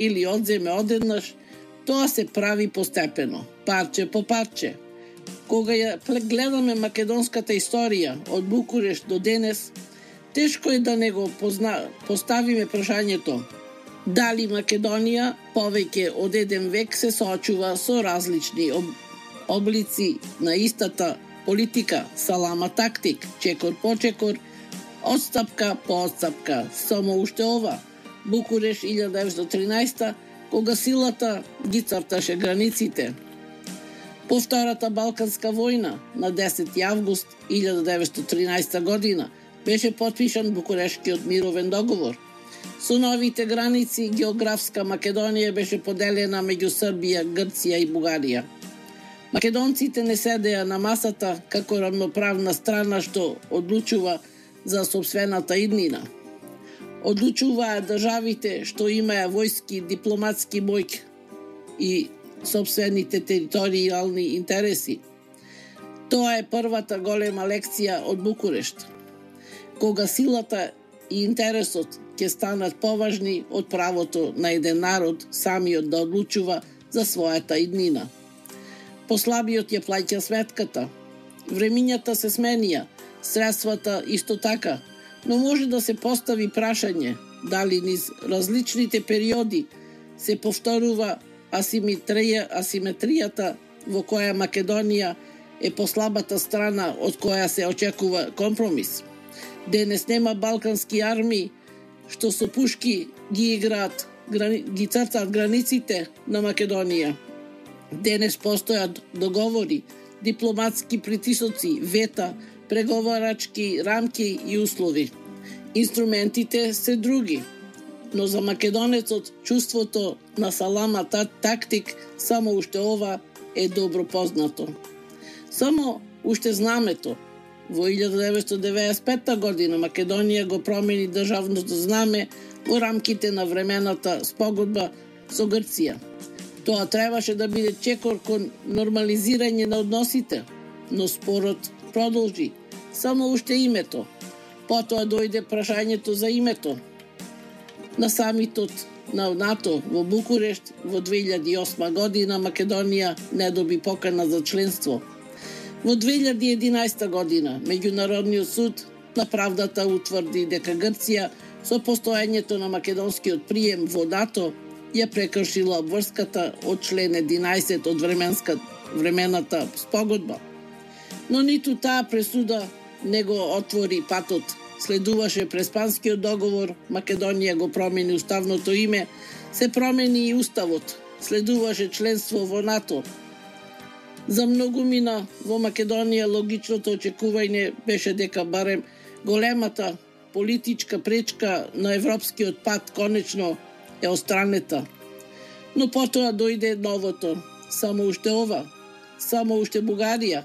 или одземе одеднаш, тоа се прави постепено, парче по парче. Кога ја гледаме македонската историја од Букурешт до денес, тешко е да не го поставиме прашањето дали Македонија повеќе од еден век се соочува со различни облици на истата политика, салама тактик, чекор по чекор, одстапка по одстапка. Само уште ова, Букурешт 1913, кога силата ги црташе границите. По Втората Балканска војна на 10 август 1913 година беше потпишан Букурештскиот мировен договор. Со новите граници географска Македонија беше поделена меѓу Србија, Грција и Бугарија. Македонците не седеа на масата како равноправна страна што одлучува за сопствената иднина. Одлучуваа државите што имаа војски, дипломатски моќ и сопствените територијални интереси. Тоа е првата голема лекција од Букурешт, кога силата и интересот ќе станат поважни од правото на еден народ самиот да одлучува за својата иднина. Послабиот ја плаќа сметката. Времињата се сменија, средствата исто така, но може да се постави прашање дали низ различните периоди се повторува асиметријата во која Македонија е послабата страна од која се очекува компромис. Денес нема балкански армии што со пушки ги играат, ги цртаат границите на Македонија. Денес постојат договори, дипломатски притисоци, вета, преговарачки рамки и услови. Инструментите се други, но за македонецот чувството на салама тактик само уште ова е добро познато. Само уште знамето. Во 1995 година Македонија го промени државното знаме во рамките на времената спогодба со Грција. Тоа требаше да биде чекор кон нормализирање на односите, но спорот продолжи. Само уште името. Потоа дојде прашањето за името. На самитот на НАТО во Букурешт во 2008 година Македонија не доби покана за членство. Во 2011 година Меѓународниот суд на правдата утврди дека Грција со постоењето на македонскиот прием во НАТО ја прекршила обврската од член 11 од времената спогодба. Но ниту таа пресуда не го отвори патот. Следуваше Преспанскиот договор, Македонија го промени уставното име, се промени и уставот. Следуваше членство во НАТО. За многумина во Македонија логичното очекување беше дека барем големата политичка пречка на европскиот пат конечно е отстранета. Но потоа дојде новото, само уште ова, само уште Бугарија.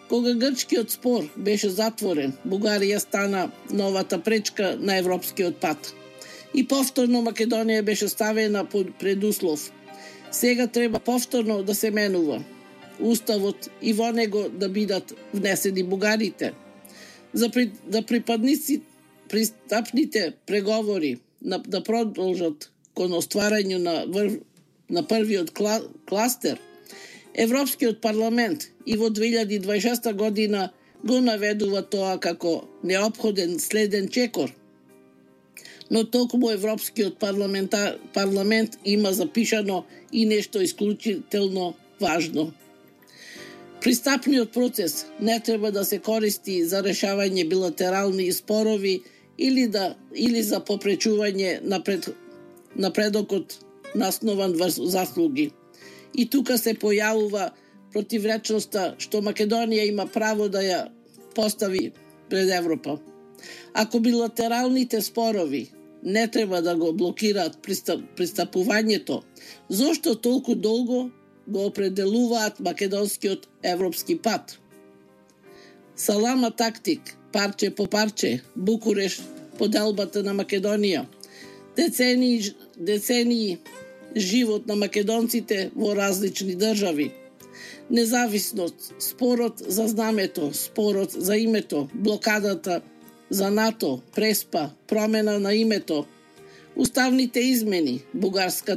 Кога грчкиот спор беше затворен, Бугарија стана новата пречка на европскиот пат. И повторно Македонија беше ставена под предуслов. Сега треба повторно да се менува уставот и во него да бидат внесени бугарите. За пристапните преговори да продолжат кон остварањето на првиот кластер, Европскиот парламент и во 2026 година го наведува тоа како неопходен следен чекор. Но токму Европскиот парламент има запишано и нешто исклучително важно. Пристапниот процес не треба да се користи за решавање билатерални спорови или за попречување напредокот наснован врз заслуги. И тука се појавува противречноста што Македонија има право да ја постави пред Европа. Ако билатералните спорови не треба да го блокираат пристапувањето, зошто толку долго го определуваат македонскиот европски пат? Салама тактик, парче по парче, Букурешт, поделбата на Македонија, децении живот на македонците во различни држави, независност, спорот за знамето, спорот за името, блокадата за НАТО, Преспа, промена на името, уставните измени, бугарската